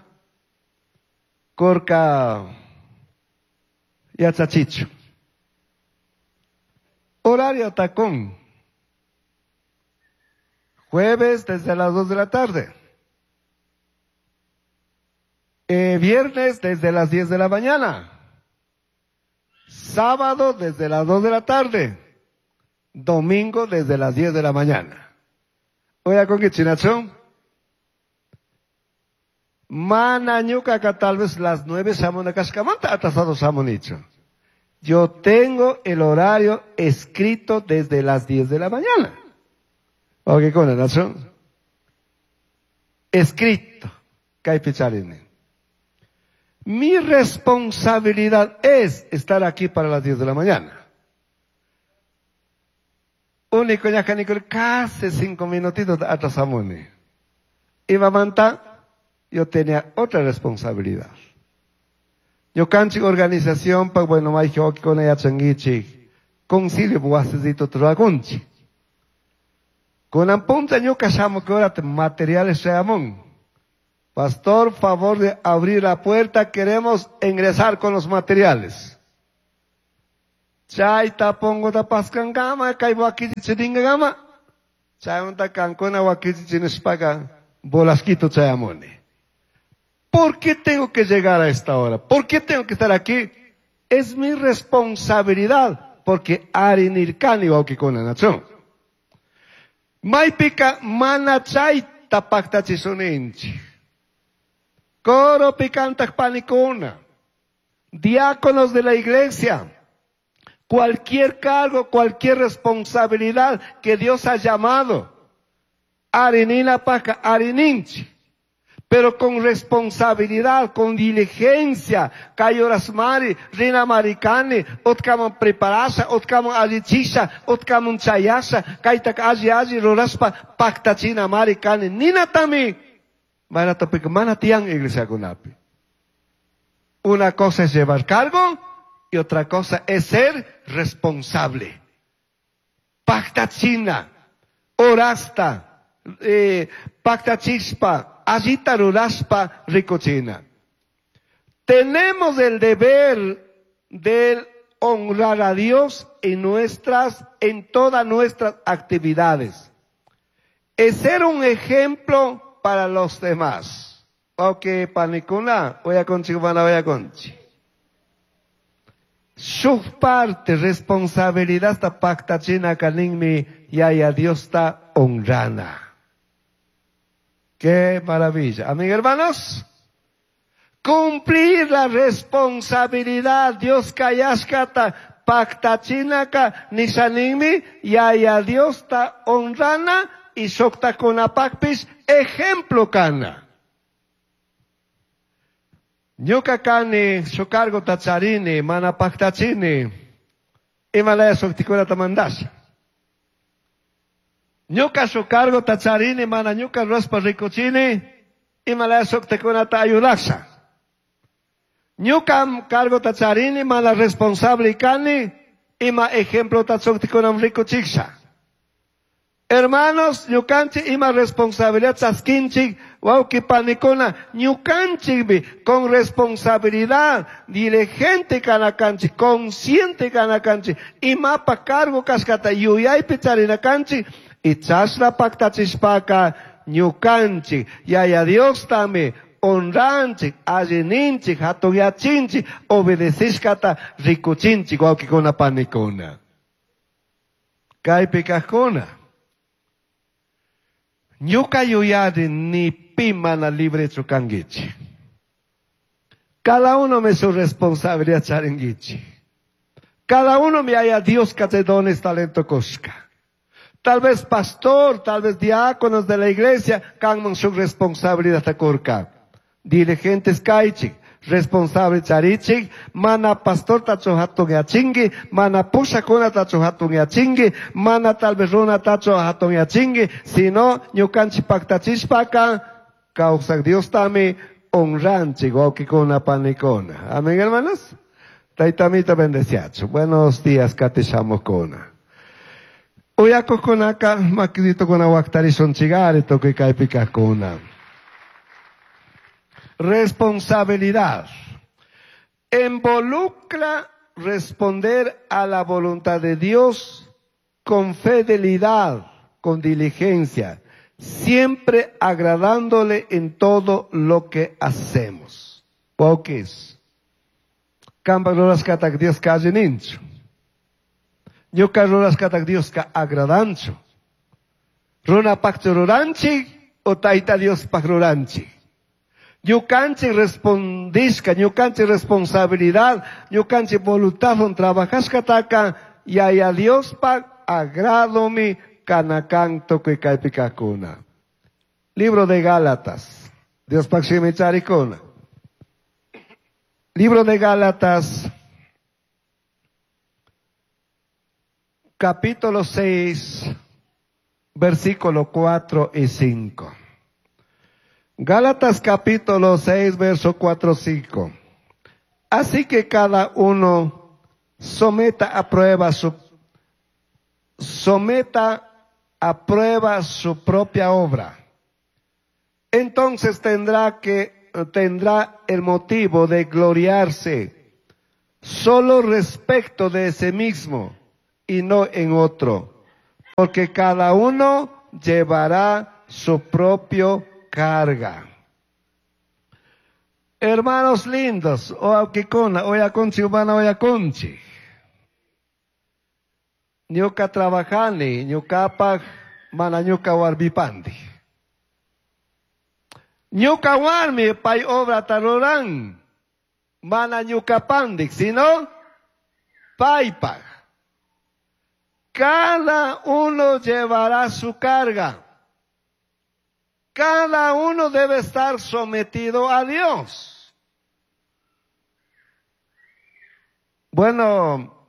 kurka yachachichu. Horario tacón. Jueves desde las dos de la tarde. Eh, viernes desde las diez de la mañana. Sábado desde las dos de la tarde. Domingo desde las diez de la mañana. Oye, con qué chinacho? Mana ñuka tal vez las nueve shamuna kashkamanta atrasado shamunicho. Yo tengo el horario escrito desde las diez de la mañana. Ok, con Nacho. Escrito. Kaypi charini. Mi responsabilidad es estar aquí para las diez de la mañana. Único ñajanikuri casi cinco minutitos atrasamuni. Imamanta, yo tenía otra responsabilidad. Ñukanchik organización, pa bueno, mayqin wawqikuna yachankichik. Concilio wasisito rurakunchik. Kunan punta ñuka shamukurata materiales shayamun. Pastor, favor de abrir la puerta, queremos ingresar con los materiales. Chayta pongota paskankama, kay wakichichiringakama. Chaymanta kankuna wakichichinishpaka bolasquito chayamuni. ¿Por qué tengo que llegar a esta hora? ¿Por qué tengo que estar aquí? Es mi responsabilidad, porque arinirkani wawkikuna, nachu. Maypika mana chayta pactachisuninchik. Coro picantaq panikuna, diáconos de la iglesia, cualquier cargo, cualquier responsabilidad que Dios ha llamado, arinina paca, arininchi, pero con responsabilidad, con diligencia, kay horasmari, rina maricani, utkaman preparasha, utkaman allichisha, utkaman chayasha, kaytak alli alli ruraspa, pactachina maricani, ninatami, manatopik mana tiyan iglesiakunapi. Una cosa es llevar cargo y otra cosa es ser responsable. Pactachina, orasta, eh, pactachispa, allita ruraspa, ricochina. Tenemos el deber de honrar a Dios en nuestras, en todas nuestras actividades. Es ser un ejemplo para los demás. Ok, panikuna, voy a conchi, voy a conchi. Su parte, responsabilidad esta pactachina kaninmi, yaya Dios está honrana. Qué maravilla. Amigos, hermanos, cumplir la responsabilidad, Dios kayashkata, pactachinaka, nishaninmi, yaya Dios está honrana, y shokta kunapakpis, ejemplo kana. Ñuka kani, su cargo tacharini, mana pactachini, imalaya shuktikunata mandasha. Ñuka su cargo tacharini, mana ñuka rospa rikuchini, imalaya shuktikunata ayudasha. Ñuka cargo tacharini, mana responsable kani, ima ejemplo tachuktikunam rikuchiksha. Hermanos, ñukanchik ima responsabilidad chaskinchik, wawqi panikuna, ñukanchikmi con responsabilidad, diligente kanakanchik, consciente kanakanchik, imapa cargo kashkata yuyaypi charinakanchik, y chashna pactachishpaka ñukanchik, yaya Dios tami honranchik, allininchik, hatunyachinchik, obedecishkata rikuchinchik, wawqikuna panikuna. Kaypi kajkuna. Ñuka yuyari ni pi mana libre chukangichi. Cada uno me su responsabilidad charingichi. Cada uno me haya Dios que te dones talento koshka. Tal vez pastor, tal vez diáconos de la iglesia, kanman su responsabilidad takurka. Dirigentes kaichik, responsable charichik, mana pastor tacho hatun yachingi, mana pushakuna tacho hatun yachingi, mana tal vez runa tacho hatun yachingi, sino ñukanchi pactachishpaka, kawsak Dios tami honranchik, wawkikuna panikuna. Amén, hermanos. Taytamita bendeciacho. Buenos días, katishamukuna. Uyakukunaka, makidito kuna waktarishun chigari, tukuy kaypikakuna. Responsabilidad. Involucra responder a la voluntad de Dios con fidelidad, con diligencia, siempre agradándole en todo lo que hacemos. Pokis. Kampa rurashkatak Dios ka allininchu. Ñuka rurashkatak Dios ka agradanchu. Runapaqchu ruranchik o Tayta Diospaq ruranchik. Ñukanchik respondishka, ñukanchik responsabilidad, ñukanchik voluntad on trabajashkataka, yaya Diospaq agradomi kanakan tukuy kaypi kajkuna. Libro de Gálatas. Diospaq shimi charikuna. Libro de Gálatas, capítulo seis, versículo cuatro y cinco. Gálatas capítulo seis, verso cuatro, cinco. Así que cada uno someta a prueba su someta a prueba su propia obra. Entonces tendrá que, tendrá el motivo de gloriarse solo respecto de ese mismo y no en otro, porque cada uno llevará su propio carga. Hermanos lindos, wawqikuna, uyakunchik mana uyakunchik. Ñuka trabajani, ñukapaj, mana ñuka warmipandi. Ñuka warmi pay obrata ruran, mana ñukapandik, sino paypaj. Cada uno llevará su carga. Cada uno debe estar sometido a Dios. Bueno,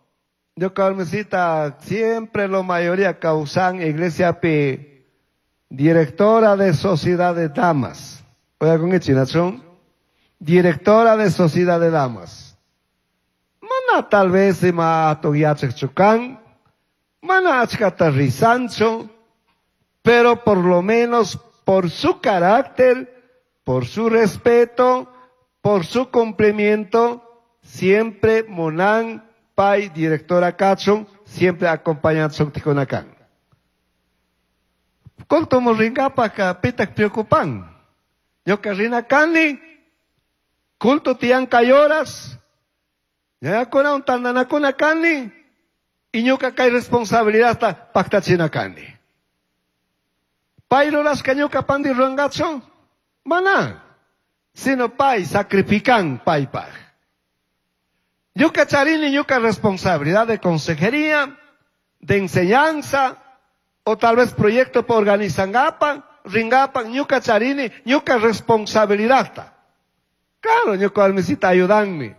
yo Carmencita, siempre la mayoría causan iglesia P, directora de sociedad de damas. Oiga, con el directora de sociedad de damas. Mana tal vez ima chukan, mana achkata risancho, pero por lo menos por su carácter, por su respeto, por su cumplimiento, siempre munan pay directora kachun, siempre acompañan ticonacan. Culto ringapa ka pitak preocupan. Ñuka rina kani, culto tian kayoras, ñakuna un tandanakuna kani, y ñuka kay responsabilidad ta paktachina kani. Pay rurashka ñuka pandi rurangachu, mana, sino pay sacrifican paypaj. Ñuka charini ñuka responsabilidad de consejería, de enseñanza, o tal vez proyecto por organizangapa, ringapa, ñuka charini, ñuka responsabilidad. Claro, ñuka almisita ayudanmi.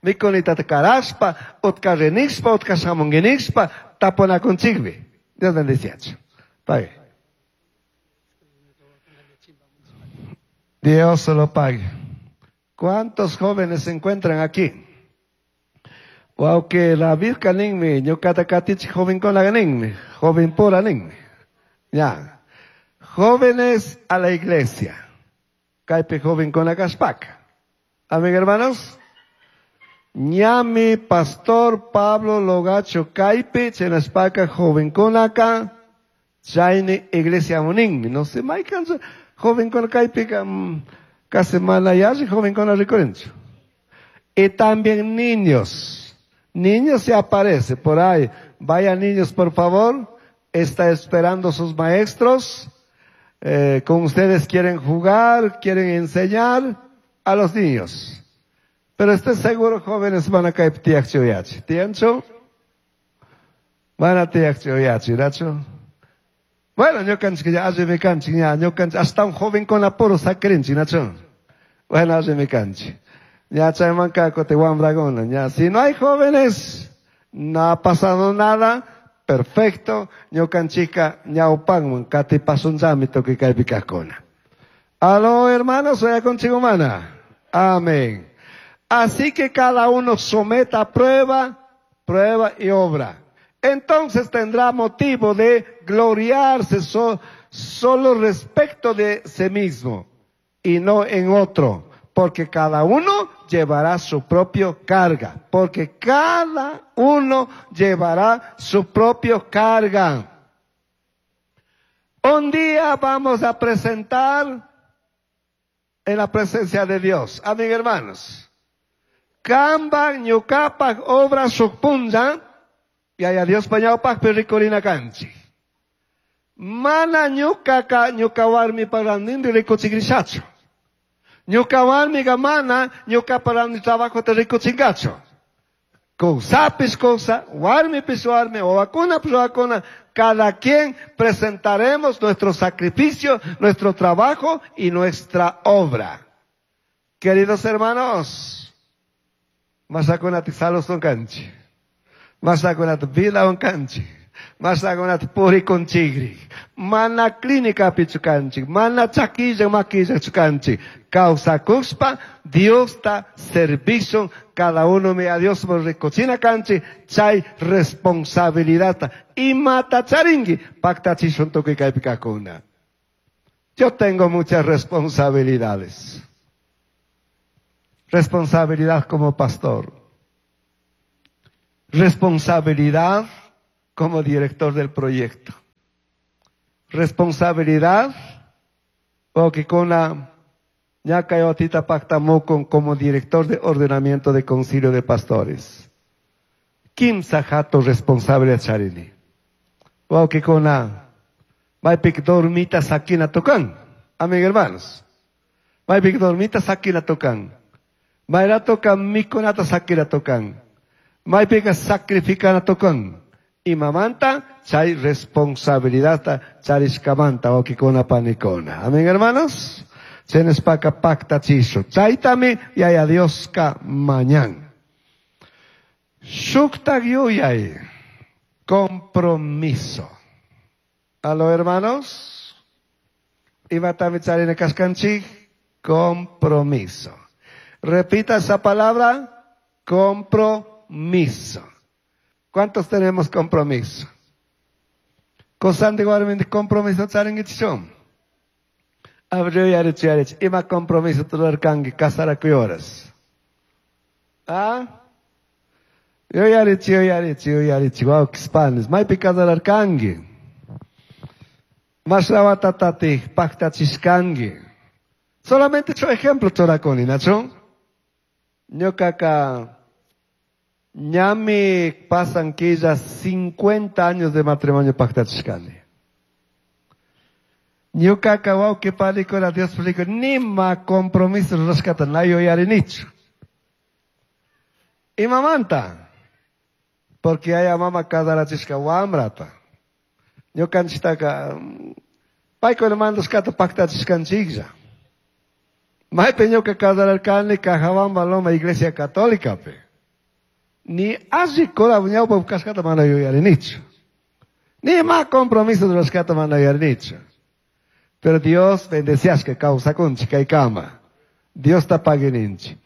Mikonita karaspa, otka renixpa, otka shamongenixpa, tapona conchigbi. Dios bendice. Pague. Dios se lo pague. ¿Cuántos jóvenes se encuentran aquí? Wow, que la virka ninmi, ñuka katich joven con la ninmi, joven pura ninmi. Ya. Jóvenes a la iglesia. Kaipe joven con la caspaca. Amén, hermanos. Ñami pastor Pablo Logacho Kaipe, chenaspaca joven con acá, chaine iglesia muninmi. No sé, maikan joven con kaipe, casi malayashi, joven con la ricorencho. Y también niños. Niños se aparece por ahí. Vayan niños, por favor. Está esperando sus maestros. Eh, con ustedes quieren jugar, quieren enseñar a los niños. Pero estoy seguro, jóvenes, van a caer tiaxioyachi. ¿Tiancho? Van a tiaxioyachi, ¿nacho? Bueno, yo cancho que ya hace me cancho, ya, yo cancho, hasta un joven con apuro sacrenchi, ¿nacho? Bueno, hace me cancho. Ya, chaymancaco, te guambragona, ya. Si no hay jóvenes, no ha pasado nada, perfecto. Ñukanchika, ñaupangman, kati pasunzami toque caipicacona. Aló, hermanos, soy contigo, mana. Amén. Así que cada uno someta a prueba, prueba y obra. Entonces tendrá motivo de gloriarse so, solo respecto de sí mismo y no en otro, porque cada uno llevará su propia carga, porque cada uno llevará su propia carga. Un día vamos a presentar en la presencia de Dios. Amén, hermanos. Kamba ñukapak obra sukpunza, yaya Dios pañawpak pericorina kanchi. Mana ñukaka ñuka warmi parandindi rikuchigrishachu. Ñuka warmiga mana ñuka parandi trabajo te rikuchingachu. Kawsapis kawsa, warmipis warmi, wawakuna wawakuna, cada quien presentaremos nuestro sacrificio, nuestro trabajo y nuestra obra. Queridos hermanos, masakunati salos unkanchi, masakunati vida unkanchi, masakunati puri kunchigri, Mana clínicapichu kanchik, mana chakilla maquillachu kanchik. Kawsakushpa Diosta servishun, cada uno mi a Dios rikuchina kanchik, chay responsabilidad. Imata charinki, paktachishun tukuy kaypi kajkuna. Yo tengo muchas responsabilidades. Responsabilidad como pastor. Responsabilidad como director del proyecto. Responsabilidad porque con la ñaca pactamocon como director de ordenamiento de concilio de pastores. Kimsa jato responsable charini. Porque con la maypik dormita sakina tocan. Amigos hermanos. Maypik dormita sakina tocan. Mayra tocan mikunata sakina tocan. Maypika sacrificana tocan. Imamanta chay responsabilidad charishkamanta okikona panikona. Amén, hermanos. Chenespaka pacta chisho. Chaytami yaya Dioska mañan. Shukta yuyay. Compromiso. Aló, hermanos. Imatami charine kaskanchik. Compromiso. Repita esa palabra. Compromiso. ¿Cuántos tenemos compromiso? Cosande guarmente compromiso charingichon. Abrió y arech arech. Ima compromiso tularkangi casarakuyoras. ¿Ah? Yo yarech yo yarech yo yarech. Wow, kispanes. Maypi casararkangi. Mashlawatatati paktachishkangi. Solamente ocho ejemplo chorakoni, ¿nacho? Ñuqaqa ñami pasan quilla cincuenta años de matrimonio paktachishkani. Ñuqaqa wawqi panikuna Dios publico nima compromiso rurashkata na yuyarinichu. Imamanta? Porque haya mama kasarachishka wamrata. Ñuqanchiktaka paykuna mandashkata paktachishkanchiklla. Maypi ñuqa kasararkani Cajabamba Loma Iglesia Católica pe. Ni alli cura ñawpa kashkata mana yuyarinichu. Ni ma compromiso rurashkata mana yuyarinichu. Pero Dios bendecias que causa kunchi kaykama. Dios ta paguininchi.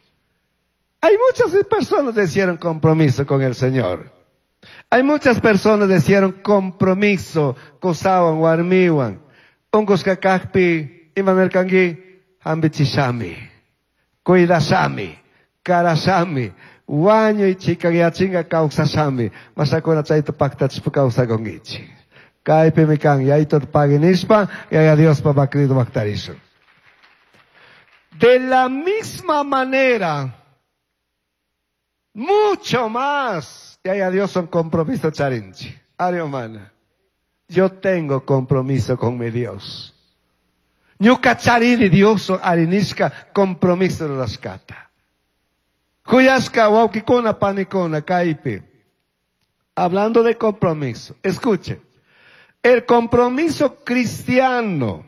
Hay muchas personas que hicieron compromiso con el Señor. Hay muchas personas que hicieron compromiso qosawan warmiwan. Unqusqa kajpi imanirkanki hampichishami, cuidashami, karashami, wañuy chikanyachinqa kawsashami, masakuna chayta paktachishpa kawsakunkichik. Kaypimi kan yaytuta paginishpa, yaya Diospa bakrido baktarishun. De la misma manera, mucho más, yaya Dios son compromiso charinchi. Ari humana. Yo tengo compromiso con mi Dios. Ñuka charini Dios arinishka compromiso rurashkata. Kuyashka wawkikuna panikuna kaypi. Hablando de compromiso, escuchen. El compromiso cristiano,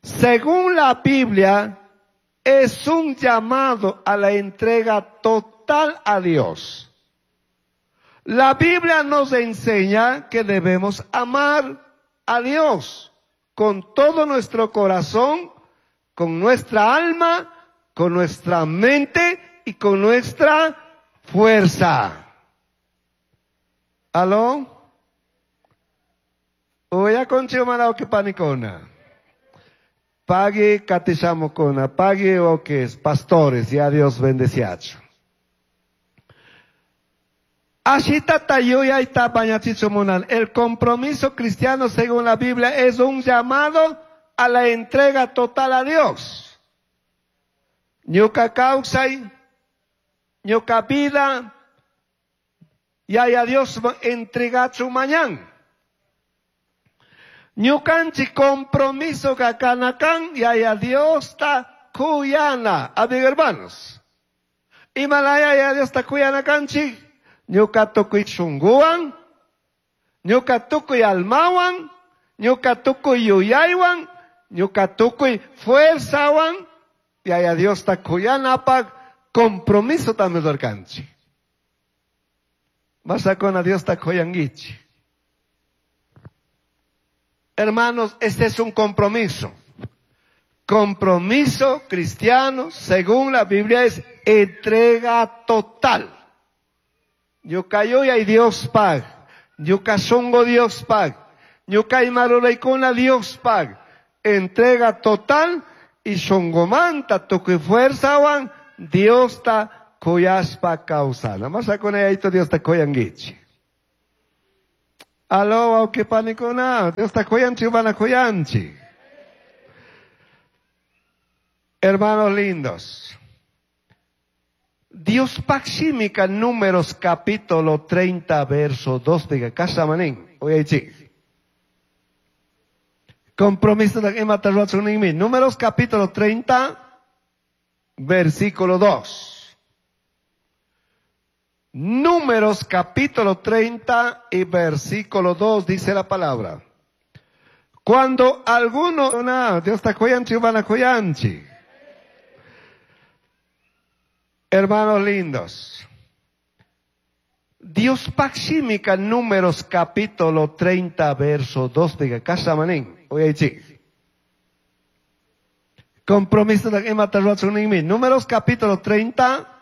según la Biblia, es un llamado a la entrega total a Dios. La Biblia nos enseña que debemos amar a Dios con todo nuestro corazón, con nuestra alma, con nuestra mente y con nuestra fuerza. ¿Aló? Oya conchigo manao que panicona. Pague catichamocona, pague o que es pastores, ya Dios bendeciacho. Ashita tayuya y tapañachichomunan. El compromiso cristiano según la Biblia es un llamado a la entrega total a Dios. Ñuka kawsay, ñuka vida, yaya Dios entregachu mañan. Ñukanchi compromiso kakanakan, yaya Dios ta kuyana. Amigos hermanos. Imalaya yaya Dios ta kuyana kanchi. Ñuka tukuy shunguwan, ñuka tukuy almawan, ñuka tukuy yuyaywan, ñuka tukuy fuerzawan, yaya Dios ta kuyanapaq compromiso también rurarkanchik. Masakuna Dios ta kuyankichik. Hermanos, este es un compromiso. Compromiso cristiano, según la Biblia, es entrega total. Ñuka yuyai Diospaj. Ñuka shungu Diospaj. Ñuka ima ruraicuna Diospaj. Entrega total y shungumanta tucui fuerzahuan Diosta cuyashpa causana. Mas Diosta Diosta cuyanguichij. Aló, huauqui panicuna, Diosta cuyanchij, mana cuyanchij. Hermanos lindos, Diospaj shimica Números capítulo treinta, verso dos, diga, cashnami nin, uyaichij. Compromiso de imata rurachun. Números capítulo treinta, versículo dos. Números capítulo treinta y versículo dos dice la palabra. Cuando alguno, no, Diosta cuyanchij, mana cuyanchij. Hermanos lindos, Diospaj shimica Números capítulo treinta, verso dos, diga, cashnami nin, uyaichij. Compromiso de imata rurachun. Números capítulo treinta,